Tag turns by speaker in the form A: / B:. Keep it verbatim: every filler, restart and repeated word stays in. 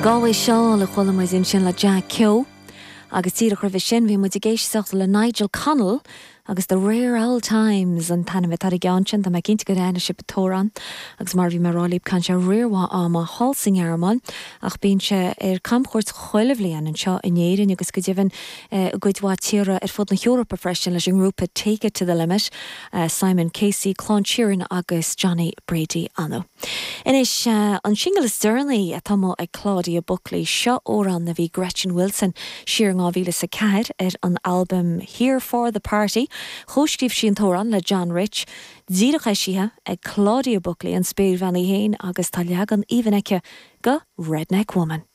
A: The Galway Shawl a chuala muid ansin le Jack Keogh. Agus díreach roimhe sin bhí muid ag éisteacht le Nigel Connell agus the Rare Old Times an t-ainm atá ar an gceann sin tá mé cinnte gur aithin sibh an t-amhrán agus mar bhí mé ag rá libh caitheann sé riar mhaith ama thall sa nGearmáin ach bíonn sé ar camchuairt chuile bhliain anseo in Éirinn agus go deimhin i gcuid mhaith tíortha ar fud na hEorpa freisin leis an ngrúpa Take It to the Limit, uh, Simon Casey, Clann Sheeran agus Johnny Brady ann. Anois uh, an singil is deireanaí atá ag Claudia Buckley seo amhrán a bhí Gretchen Wilson siar dhá mhíle sa ceathair ar an album Here for the Party, Chomhscríobh sí an t-amhrán le John Rich, díreach eisithe ag Claudia Buckley an spéirbhean í féin agus tá leagan aoibhinn aici de Redneck Woman.